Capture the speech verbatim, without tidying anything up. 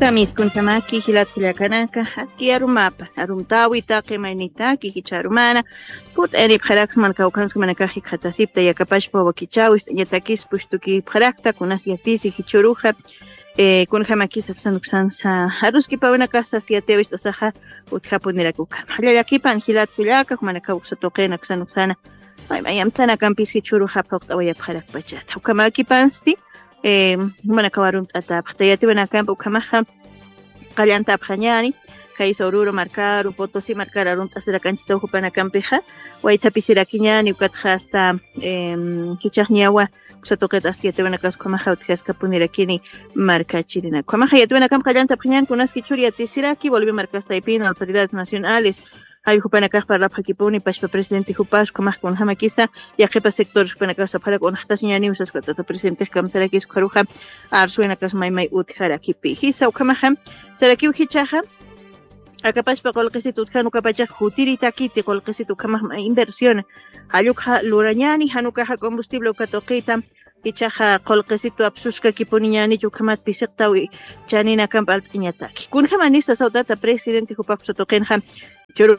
Kamiskuntamaki jilat kullakanaka, aski arumapa, arumtawi taqi maynitaki jichha arumana, put eripxaraksman kawkhanskmanakax jikxatasipta yakapashpa wakichawi ist'añatakis pushtukipxarakta, kunas yatisi jichhuruxa, eh, kunjamakis aksanuksansa, aruskipawinakasa aski yatiwist'asaxa, utjapunirak ukhama. Jallallakipan jilat kullaka, jumanakaw uksa tuqin aksanuksana, may mayamtanakampis jichhuruxa phuqt'awayapxarakpachata. Ukhamakipansti, eh, jumanakaw arumt'atapxta yatiwinakampa ukhamaxa, qallantapxañani, kaysa Oruro markaru, Potosí markaru arumt'asirakanchitaw jupanakampixa, waythapisirakiñani, ukatxa hasta, em, jichhaxniyawa, uksa tuqit hasta yatiwinakas ukhamaxa utjaskapunirakini markachirina. Ukhamaxa yatiwinakampa qallantapxañani, kunas jichhur yatisiraki, Bolivia markas taypina, autoridades nacionales, jawi jupanakax parlapxakipuni, pashpa presidente jupas, ukhamax kunjamakisa, yaqhipa sectores jupanakax sapxarak unaxtasiñaniw saspa tata presidentex kamsarakis ukharuxa, arsuwinakas maymay utjarakipi. Jisa ukhamaxa, sarakiw jichhaxa, akapashpa qullqisit utjan ukapachax jutiritakiti qullqisit ukhamax ma inversión. Jallukxa lurañani, jan ukaxa combustible uka tuqita, jichhaxa qullqisitu apsuskakipuniñanich ukhamat pisiqtaw chaninakamp alp'iñataki. Kunjamanisa sawtata presidente jupax uksa tuqinxa, churu